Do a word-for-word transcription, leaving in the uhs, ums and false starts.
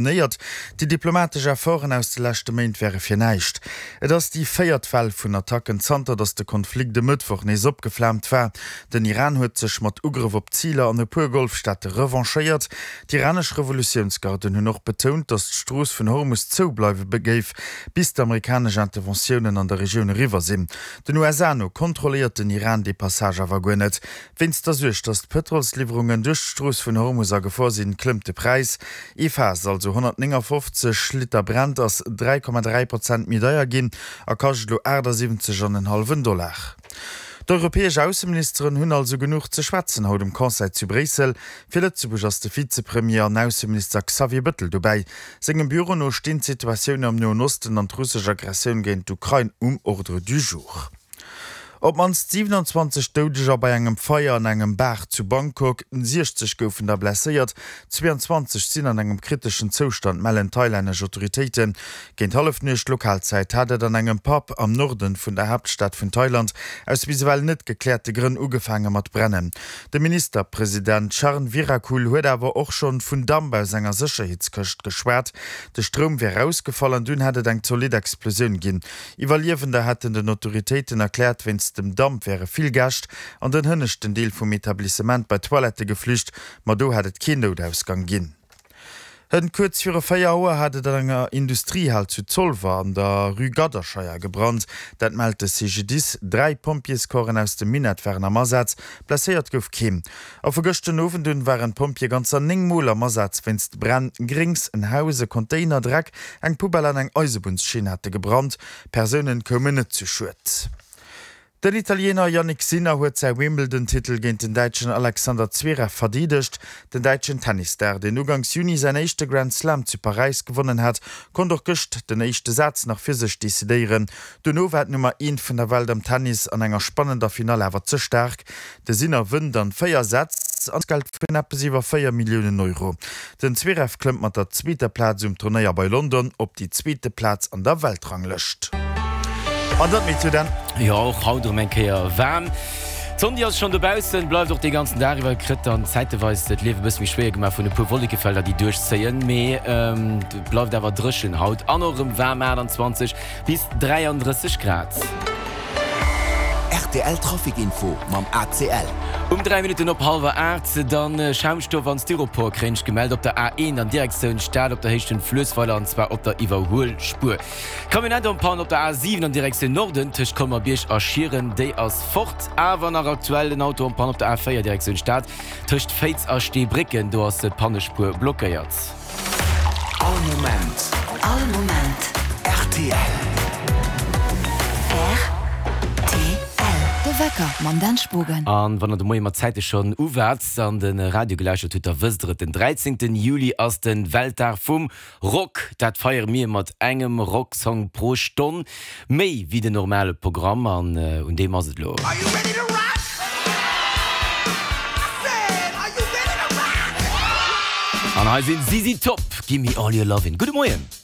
Néiert. Déi diplomatesch Efforten aus de leschte Méint wäre fir näischt. Et ass déi véiert Well vun Attacken, zanter datt de Konflikt e Mëttwoch nees opgeflaamt war. Den Iran huet sech mat Ugrëff op Ziler an e puer Golfstaate revanchéiert. D'iranesch Revolutiounsgarden hunn och betount, datt d'Strooss vun Hormus zou bleiwe géif, bis d'amerikanesch Interventiounen an der Regioun eriwwer sinn. Den U S A no kontrolléiert den Iran dee Passage awer guer net. Wéinst der Suerg, datt d'Pëtrolsliwwerungen duerch d'Strooss vun Hormus a Gefor sinn, klëmmt de Präis. Ee Faass, also honnertnéngafofzeg Liter Brent, ass dräi Komma dräi Prozent méi deier ginn a kascht elo aachtsiwwenzeg an en hallwen Dollar. D'europäesch Ausseministeren hunn also genuch ze schwätzen haut um Conseil zu Bréissel. Fir Lëtzebuerg ass de Vizepremier an Ausseminister Xavier Bettel dobäi. Sengem Büro no stinn d'Situatioun am Noen Osten an d'russesch Aggressioun géint d'Ukrain um Ordre du jour. Op d'mannst siewenundzwanzeg Doudeger bei engem Feier an engem Bar zu Bangkok, siechzeg goufen der blesséiert, zweiundzwanzeg sinn an engem kriteschen Zoustand, mellen thailännesch Autoritéiten. Géint Hallefnuecht Lokalzäit hat et an engem Pub am Norden vun der Haaptstad vun Thailand aus bis ewell net gekläerte Grënn ugefaange mat brennen. De Ministerpresident Charnvirakul huet awer och schonn vun Damp aus enger Sécherheetskëscht geschwat. De Stroum wär rausgefall an dunn hätt et eng zolidd Explosioun ginn. Iwwerliewender hätten den Autoritéiten erkläert, wéinst dem Damp wäre vill Gäscht an den hënneschten Deel vum Etablissement bei Toilette geflücht, ma do hätt et keen Noutausgang ginn. Hënt kuerz viru véier Auer hat et an enger Industriehal zu Zolwer an der Rue Gadderscheier gebrannt. Dat mellt de C G D I S. Dräi Pompjeescorpsen aus dem Minett waren am Asaz, blesséiert gouf keen. A vu gëschten Owend un waren d'Pompjee ganzer néng Mol am Asaz wéinst Bränn. Gréngs, en Haus, e Container, Dreck, eng Poubelle an eng Eisebunnschinn hate gebrannt. Persounen koumen net zu Schued. Den Italiener Jannik Sinner huet säi Wimbledon-Titel géint den däitschen Alexander Zverev verdeedegt. Den däitschen Tennisstar, deen ugangs Juni säin éischte Grand Slam zu Paräis gewonnen hat, konnt och gëscht den éischte Saz nach fir sech decidéieren. Dono war d'Nummer eent vun der Welt am Tennis an enger spannender Finale awer ze staark. De Sinner wënnt an véier Sätz an Geld vun eppes iwwer véier Milliounen Euro. Den Zverev klëmmt mat der zweeter Plaz um Turnéier bei London op déi zweete Plaz an der Weltranglëscht. An dat mit zu den. Jo, och haut erëm eng Kéier waarm. D'Sonn, déi ass schonn dobaussen, bleift och dee ganzen Dag iwwer, kritt dann zäiteweis d'Liewe e bësse méi schwéier gemaach vun e puer Wollekefelder, déi duerchzéien, mee et bleift awer dréchen haut an och erëm waarm, aachtanzwanzeg bis dräianddrësseg Grad. R T L Trafic Info mam A C L. Um dräi Minutten op hallwer aacht dann Schaumstoff an Styropor kréien ech gemellt op der A eent an Direktioun Stad op der Héicht vun Fluessweiler an zwar op der Iwwerhuelspuer. Camionnette en panne op der A siwen an Direktioun Norden tëscht Colmar-Bierg a Schieren, déi ass fort. Awer nach aktuell en Auto en panne op der A véier Direktioun Stad tëscht Féiz a Steebrécken, do ass d'Pannespuer blockéiert. All Moment. All Moment. R T L. R T L. De Wecker mam Dan Spogen. An wann der de Moie mat Zäite schonn uwaart an de Radio gelauschtert hutt, da wësst der et, den dräizéngten Juli ass de Weltdag vum Rock. Dat feiere mir mat engem Rocksong pro Stonn, méi wéi den normale Programm, an un deem ass et elo. Are you ready to rock? I said, are you ready to rock? An hei sinn Z Z Top, Gimme All Your Lovin'. Gudde Moien!